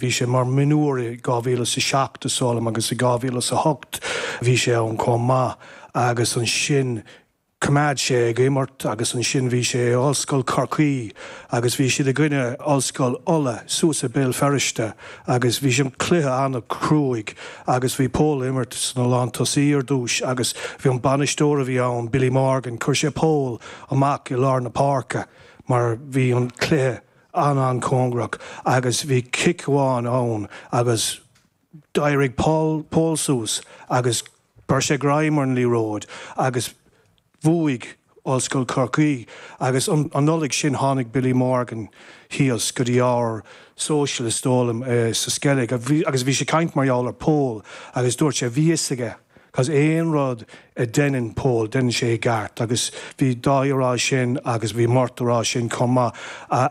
Bhí sé mar mionúr i 2007 is dóigh liom agus i 2008 bhí sé ann chomh maith agus ansin choimeád sé ag imirt agus ansin bhí sé i Ollscoil Chorcaí agus bhí siad i gcoinne Ollscoil Uladh suas i Béal Feirste agus bhí an cluiche an-chruaidh agus bhí Pól ag imirt sna lántosaí ar dtús agus bhí an bainisteoir a bhí ann, Billy Morgan, chuir sé Pól amach i lár na páirce mar bhí an cluiche an-an-cóngarach agus bhí cic amháin ann agus d'éirigh Paul Pól suas agus chuir sé greim ar an liathróid agus bhuaigh Ollscoil Chorcaí agus an Nollaig sin tháinig Billy Morgan thíos go dtí ár social is dóigh liom sa Sceilg agus bhí sé ag caint mar gheall ar Pól agus dúirt sé bhí fhios aige 'Cause aon rud a deineann Pól, deineann sé i gceart agus bhí Dáithí a rá sin agus bhí Murt a rá sin chomh maith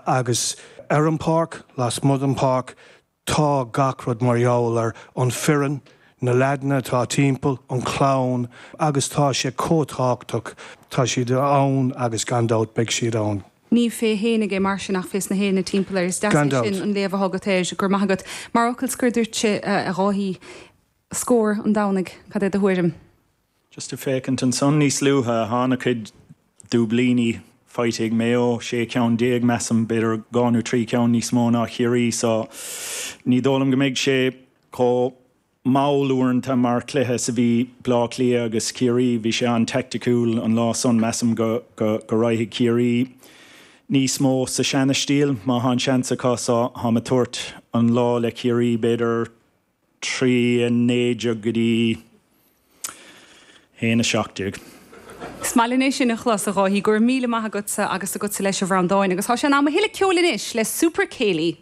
agus ar an pháirc, lasmuigh den pháirc, tá gach rud mar gheall ar an foireann, na leaideanna atá timpeall, an chlann agus tá sé chomh tábhachtach, tá siad ann agus gan dabht beidh siad ann. Ní fé fhéinig é mar sin ach fés na héinne timpeall air. Is deas é sin an léamh atá agat air. Go raibh maith agat. Mar fhocal scoir duitse, a Dháithí, Scór an Domhnaigh, cad é do thuairim? Just ag féachaint ansan níos luaithe, thá ana-chuid dúiblíní faighte ag Maigh Eo, 16 ceann measaim, b'fhéidir 2 nó 3 ceann níos mó ná Chiarraí so ní dóigh liom go mbeidh sé chomh mall uaireanta mar chluiche is a bhí Bleá Cliath agus Ciarraí. Bhí sé an-teaicticiúil an lá san, measaim go go raghadh Ciarraí níos mó sa seana-stíl má thá an seans acu so tháim ag tabhairt an lá le Ciarraí b'fhéidir 3, 19 go dtí 1, 17. Is maith linn é sin a chlos, a Dháithí. Go raibh míle maith agatsa agus agatsa leis, a Bhreandáin. Agus tá sé in am a thuilleadh ceoil anois le Super Céilí.